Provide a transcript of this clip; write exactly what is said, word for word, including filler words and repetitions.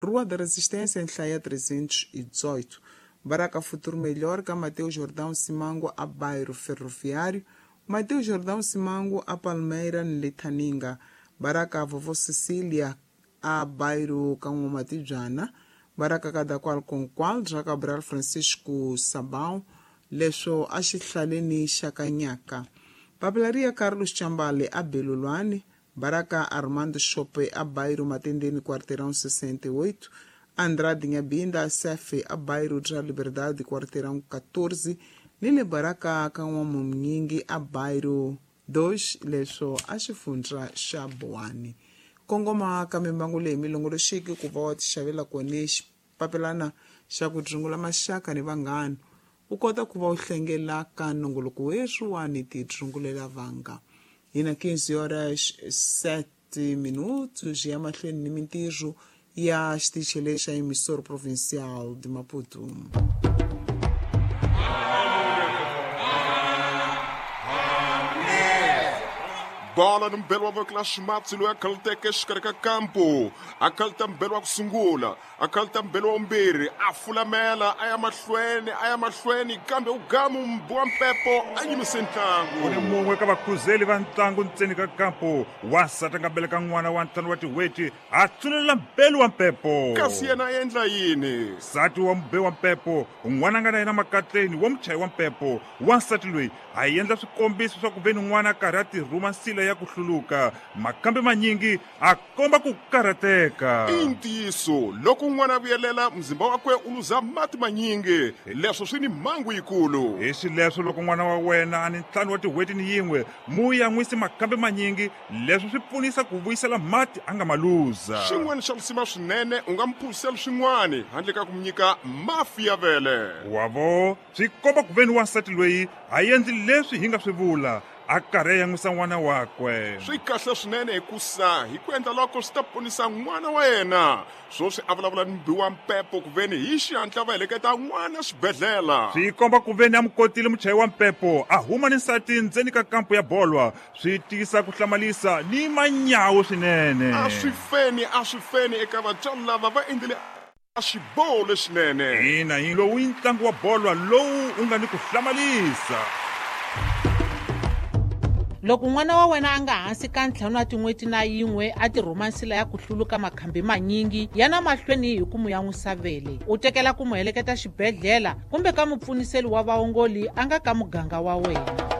Rua da Resistência, em trezentos e dezoito. Baraka Futuro Melhor, ka Mateus Jordão Simango a bairro Ferroviário, Mateus Jordão Simango a Palmeira, Litaninga, Baraka a Vovó Cecília a bairro Kangomatijana, Baraka cada qual com qual, já Cabral Francisco Sabão, leswo a xihlaleni xa Kanyaka. Papelaria Carlos Chambale a Belulwane, Baraka Armando Chope a bairro Matendene, quarteirão sessenta e oito, Andrade Nhabinda a Cefe a bairro da Liberdade, quarteirão quatorze, Nile Baraka Kanwamunyingi a bairro dois, leswo a xifundza xa Boane. Kongoma ka mimbangu leyi milongoloxiki ku va wa tixavela kona xipapelana xa ku dzungula maxaka ni vanghana, u kota ku va u hlengela ka nongoloko weswiwani ti dzungulela vanga. Hina quinze horas sete minutos ya mahlweni ni mintirho ya xitichi lexa emissora provincial de Maputo. Bola ni mbelo wa voko la ximatsi loyi a khaluteke exikarhi ka kampo, a khaluta mbelo wa ku sungula, a khaluta mbelo wa vumbirhi, a fulamela a ya mahlweni a ya mahlweni, kambe u gamu mbu wa mpepo a yimise ntlangu. U ni mun'we ka vakhuzeli va ntlangu ntseni ka kampo, wansati a nga beleka n'wana wa ntlhanu wa tin'hweti a tsunelela mbelo wa mpepo. Kasi yena a endla yini? Nsati wa mube wa mpepo, n'wana a nga na yena makatleni wa muchayi wa mpepo, wansati loyi a endla swikombiso swa ku ve ni n'wana a karhi a tirhuma nsila ya ku hluluka, makambe manyingi a komba ku karhateka. I ntiyiso, loko n'wana a vuyelela muzimba wakwe u luza mati manyingi, leswo swi ni mhangu yikulu. Hi xileswo loko n'wana wa wena a ni ntlhanu wa tin'hweti ni yin'we, mu yan'wisi makambe manyingi, leswo swi pfunisa ku vuyisela mati a nga ma luza. Xin'wana xa risima swinene, u nga mu phuzisela swin'wana handle ka ku mu nyika mafi ya vele. Wavo, swi komba ku ve ni wansati loyi a endli leswi hi nga swi vula, a karhi a yan'wisa n'wana wakwe. Swi kahle swinene hikusa hi ku endla loko swi ta ponisa n'wana wa yena. Swoswi a vulavula ni mbi wa mpepo ku veni hi xihatla va heleketa n'wana xibedhlele. Swi komba ku veni a mu kotile muchayi wa mpepo a huma ni nsati ndzeni ka kampo ya bolwa, swi tisa ku hlamalisa ni manyawu swinene. A swi feni, a swi feni eka vatswari lava va endlile a xiboho lexinene. Ina, hi lowu i ntlangu wa bolwa lowu u nga ni ku hlamalisa. Loko n'wana wa wena a nga hansi ka ntlhanu wa tin'hweti na yin'we a tirhuma nsila ya ku hluluka makhambi manyingi, yana mahlweni hi ku mu yan'wisa vele, u tekela ku mu heleketa xibedhlele kumbe ka mupfuniseli wa vaongoli a nga ka muganga wa wena.